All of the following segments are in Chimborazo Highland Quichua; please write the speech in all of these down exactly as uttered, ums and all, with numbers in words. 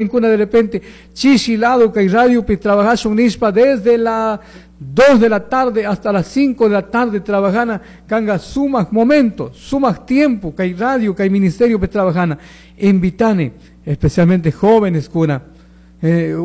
De repente, chishi lado kay radio pi trabajashun nishpa desde las dos de la tarde hasta las cinco de la tarde trabajana kanga sumak momento, sumak tiempo kay radio, kay ministerio pi trabajana. Invitani, especialmente jóvenes kuna, eh,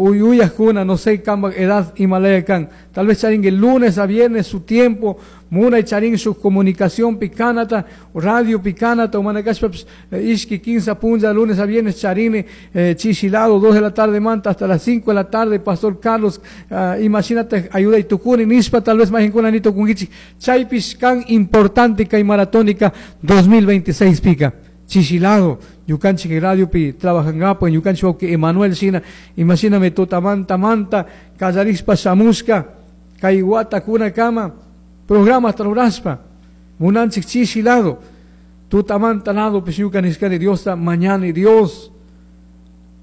kuna, no sé camba edad imalaya kan, tal vez charin el lunes a viernes su tiempo, muna charin su comunicación picanata, radio picanata, humanacashpa ishki quince punlla, lunes a viernes charine, eh, chishi lado, dos de la tarde manta hasta las cinco de la tarde, Pastor Carlos, uh, imagínate, ayuda y tukuni, nishpa, tal vez más ni tukungichi, chaypish kan importante kay maratónica dos mil veintiséis pica, chishi lado, ñukanchik radio pi trabajangapo, ñukanchik que Emanuel shina, imagíname tutamanta manta, kallarishpa shamushka, kay watakuna kama, programa rurashpa, munanchik chishi lado, tutamanta lado, pues ñuka nishkani Diosta mañana Dios,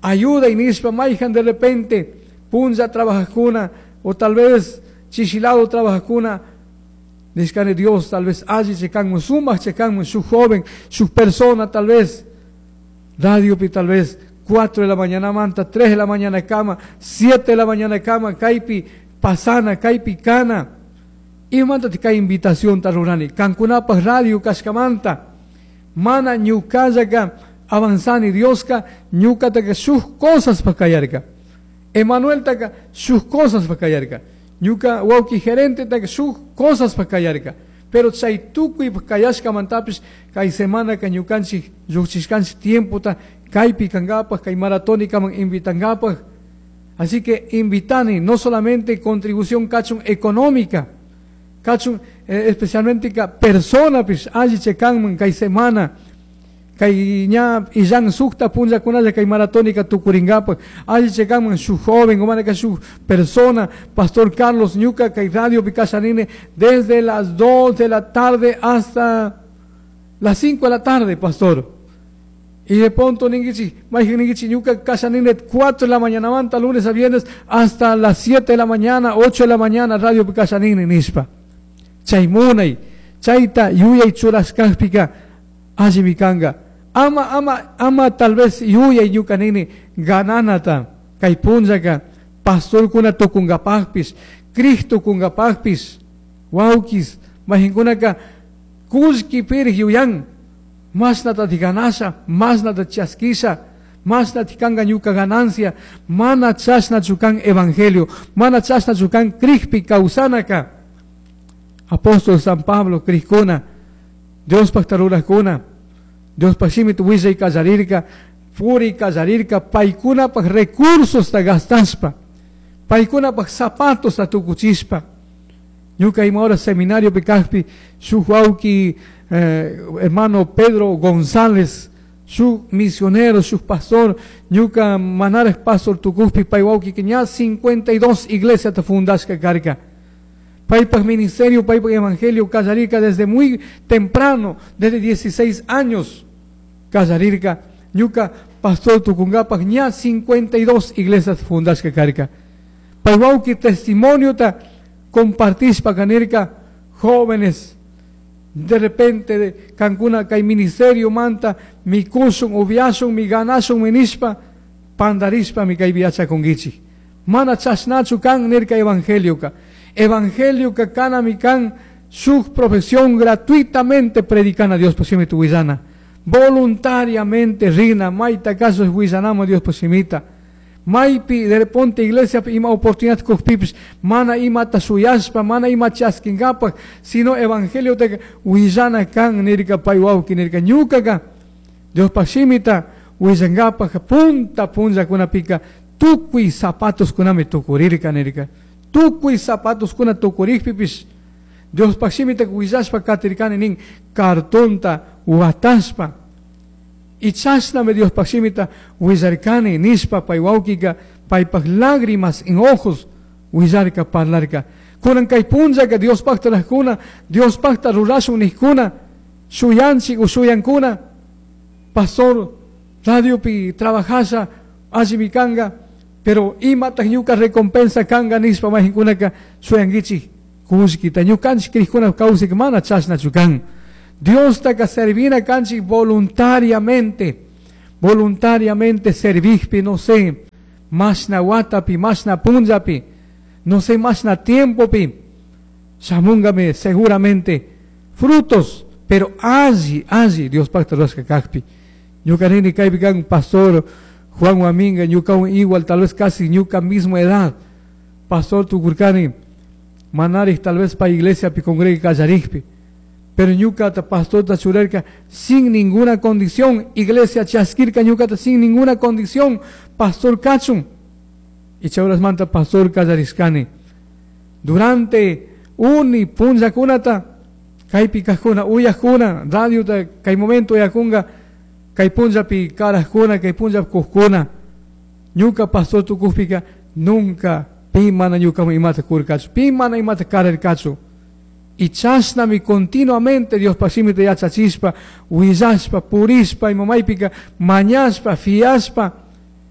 ayuda y nishpa mayhan de repente, punlla trabajajuna, o tal vez chishi lado trabajajuna, nishkani Dios, tal vez alli chekanmun, sumak chekanmun, su joven, su persona tal vez, radio pi tal vez cuatro de la mañana manta, tres de la mañana cama, siete de la mañana cama, kaypi pasana, kaypi kana. Y manta kay invitación ta rurani, kankunapaj radio kashkamanta, mana ñukallaka avanzani, Dioska ñukataka shuk cosas pa kayarka. Emanuel taka shuk cosas pa kayarka. Ñuka wawki gerente taka shuk cosas pa kayarka. Pero chay tukuy kayashkamantapish kay semana ka ñukanchik lluqchishkanchik tiempota kaypi kankapaj, kay maratónicaman invitankapaj. Así que invitani no solamente contribución kachun económica, kachun eh, especialmente ka persona pish alli chekanman kay semana kay ña illan sukta punllakunalla kay maratónica tukurinkapak alli chekanman shuk joven o mana shuk persona. Pastor Carlos, ñuka kay radio pi kashanini desde las dos de la tarde hasta las cinco de la tarde, pastor. Y de pronto ninguichi, mayhan ninguichi, ñuka kashanini cuatro de la mañana manta, lunes a viernes, hasta las siete de la mañana, ocho de la mañana, radio pi kashanini nishpa. Chay munay, chayta yuyay churashkajpika, allimi kanga. Ama, ama, ama tal vez yuyay ñuka nini gananata, kay punllaka, pastorkuna tukunkapajpish, crij tukunkapajpish, wawkis, mayhankunaka, kullki pirik yuyan, mashnata ganasha, mashnata chaskisha, mashnata kanga ñuka ganancia. Mana chashnachu kan evangelio, mana chashnachu kan crijpi kawsanaka. Apóstol San Pablo crijkuna, Diospajta rurajkuna, Diospaj shimita willay kallarirka, puri kallarirka, paykunapaj recursosta gastashpa, paykunapaj zapatosta tukuchishpa. Ñuka ima hora seminario pi kajpi, shuk wawki eh, hermano Pedro González, shuk misionero, shuk pastor, ñuka manaraj pastor tukujpi pay wawki ña cincuenta y dos iglesia ta fundashka karka. Paypaj ministerio, paypaj evangelio kallarirka desde muy temprano, desde dieciséis años kallarirka. Ñuka pastor tukunkapaj ña cincuenta y dos iglesias fundashka karka. Pay wawki testimonio ta compartishpa kanirka, jóvenes, de repente de kankuna kay ministerio manta mikushun, upiashun, mi ganashun nishpa, pandarishpa mi kaypi yachakunkichik. Mana chashnachu kan nirka evangelioka. Evangelioka kanami kan shuk profesión, gratuitamente predicana Diospaj shimita willana. Voluntariamente rina, mayta caso willanama Diospaj shimita. Maypi de repente iglesia ima oportunidad kujpipish mana imata shuyashpa, mana ima chaskinkapak, sino evangelio te willana kan nirka pay wawki nirka ñukaka Diospaj shimita willankapak punta punllakunapika tukuy zapatos kunami tukurirka nirka. Tukuy zapatos kuna tukurikpipish Diospaj shimita willashpa katirkani nin cartonta watashpa. Y chashnami Diospaj shimita willarkani nishpa pay wawkika paypaj lágrimas en ojos willarka, parlarka. Kunan kay punllaka Diospajta rajkuna, Diospajta rurashun nijkuna, shuyanchik o shuyankuna, pastor, radiopi trabajasha, allimi kanga, pero imataj ñuka recompensa kanga nishpa mayhankunaka shuyankichik kullkita. Ñukanchik crijkuna kawsayka mana chashnachu kan. Diostaka servina kanchik voluntariamente. Voluntariamente servijpi, no sé, mashna watapi, mashna punllapi, no sé, mashna tiempopi, shamungami seguramente frutos, pero alli, alli Diospajta rurashka kajpi. Ñuka nini kaypi kan pastor Juan Huaminga, ñukawan igual, tal vez casi ñuka mismo edad, pastor tukurkani, manarij tal vez pa iglesia pi congrega kallarijpi, pero ñukata pastorta churarka sin ninguna condición, iglesia chaskirka ñukata sin ninguna condición, pastor kachun, y chay manta pastor kallarishkani. Durante uni punllakunata, kaypi kajkuna, uyajkuna, radiota kay momento uyakunga, kay punllapi karajkuna, kay punllapi kujkuna, ñuka pastor tukujpika nunca pi mana ñukaman imata kurkachu, pi mana imata kararkachu. Y chashnami continuamente Diospaj shimita yachachishpa, willashpa, purishpa, ima maypika mañashpa, fiashpa,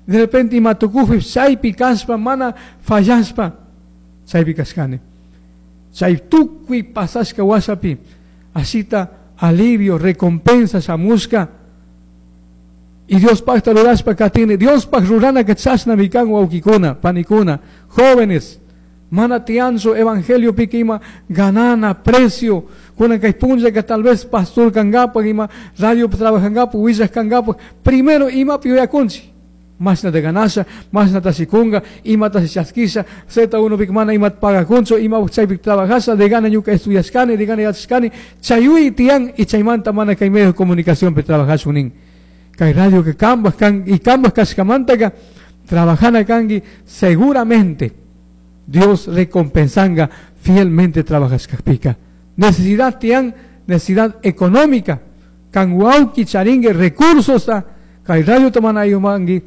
de repente ima tukujpi chaypi kashpa, mana fallashpa, chaypi kashkani. Chay tukuy pasashka washapi, ashita alivio, recompensa shamushka. Y Diospajta rurashpa katini, Diospaj ruranaka chashnami kan wawkikuna, panikuna, jóvenes, mana tianchu evangelio pika ima ganana precio, kunan kay punllaka tal vez pastor kangapak, ima radio trabajangapak, willaj kangapak, primero imapi yuyakunchik, mashnata ganasha, mashnata shikunga, imata chaskisha, Z uno pika mana imata pagakunchu, ima chaypi trabajasha, de gana ñuka estudiashkani, de gana yachashkani, chayuy tiyan y chaymanta mana kay medio de comunicación pi trabajashun nin. Kay radio que kambaj kan, y kambaj kashkamantaka trabajana kanki, seguramente Dios recompensanga fielmente trabajashkajpika. Necesidad tiyan, necesidad económica, kan wawki charingue recursos ta, kay radio tamanayumangi,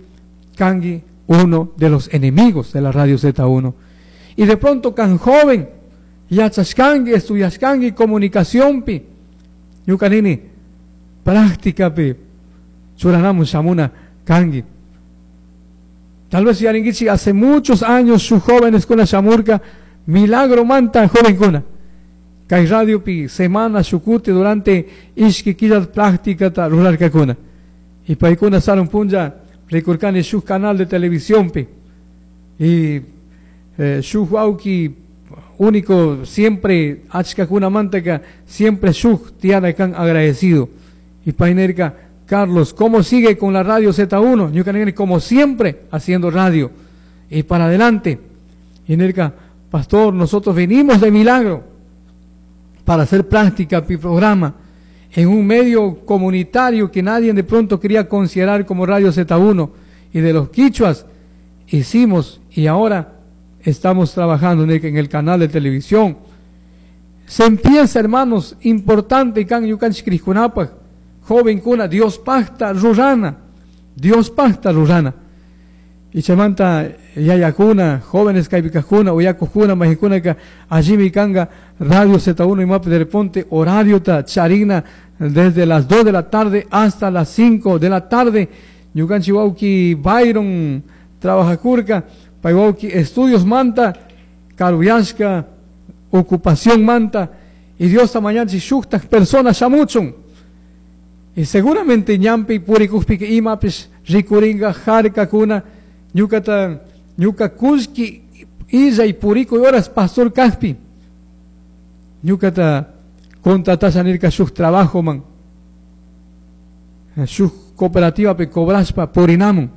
kangi uno de los enemigos de la radio Z uno. Y de pronto kan joven, yachashkangi, estudiashkangi, comunicación pi, ñuka nini, práctica pi, churanamun shamuna kangi. Tal vez yaringuichi hace muchos años sus jóvenes con la shamurka, milagro manta joven kuna. Kay radio pi semana shukuti durante ishki killa práctica ta rurarka kuna. Y paikuna sarun punlla rikurkani shuk canal de televisión pi. Y eh, shuk wawki único siempre achka kuna mantaka siempre shuk tiana kan agradecido. Y painerka Carlos, ¿cómo sigue con la radio Z uno? Ñuka nini, como siempre, haciendo radio. Y para adelante. Y nerka, pastor, nosotros venimos de milagro para hacer práctica mi programa en un medio comunitario que nadie de pronto quería considerar como Radio Z uno. Y de los quichuas hicimos y ahora estamos trabajando en el, en el canal de televisión. Se empieza, hermanos, importante, kan yukanchik krishkunapaj, joven kuna, Diospajta rurana, Diospajta rurana. Y chamanta yayakuna, jóvenes kaipikajuna, uyakujuna, majikuna, ka allí kanga, Radio Z uno y map de repente, horario ta charina, desde las dos de la tarde hasta las cinco de la tarde. Ñukanchi wawki Byron trabajakurka, pay wawki estudios manta, karuyashka, ocupación manta, y Dios ta mañanchi shuktak personas shamuchun. Y seguramente ñampi purikujpi que imapis rikuringa jarka kuna, ñukata, ñuka kushki illa y purico y horas pastor kajpi. Ñukata contratasha nirka shuk trabajo man. Shuk cooperativa pe cobraspa purinamun.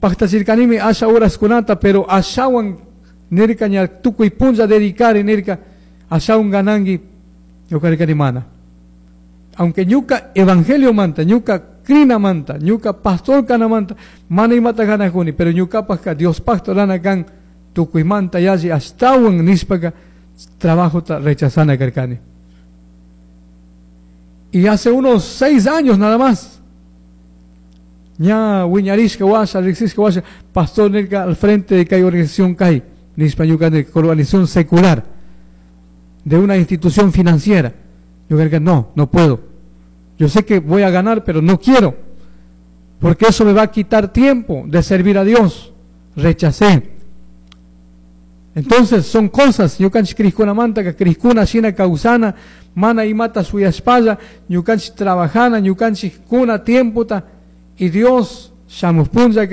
Pajtachirkanimi asha horas kunata, pero ashawan nirka ña tukuy punlla dedicare nirka ashawan ganangi ñuka mana. Aunque ñuka evangelio manta, ñuka crina manta, ñuka pastor kana manta, mana imata ganajuni, pero ñuka pajka Dios pacto rana kan tukuy manta yashi ashtawan nispaka trabajo ta rechazana karkani. Y hace unos seis años nada más, ña wiñarishka washa, riksishka washa, pastor nirka al frente de kay organización kay, nispa ñuka nirka, organización secular, de una institución financiera. Yo creo que no, no puedo. Yo sé que voy a ganar, pero no quiero, porque eso me va a quitar tiempo de servir a Dios. Rechacé. Entonces son cosas, ñukanchik crijkunamanta crijkuna shina kawsana, mana imata shuyashpalla, ñukanchik trabajana, ñukanchik kuna tiempota y Dios shamuj punllaka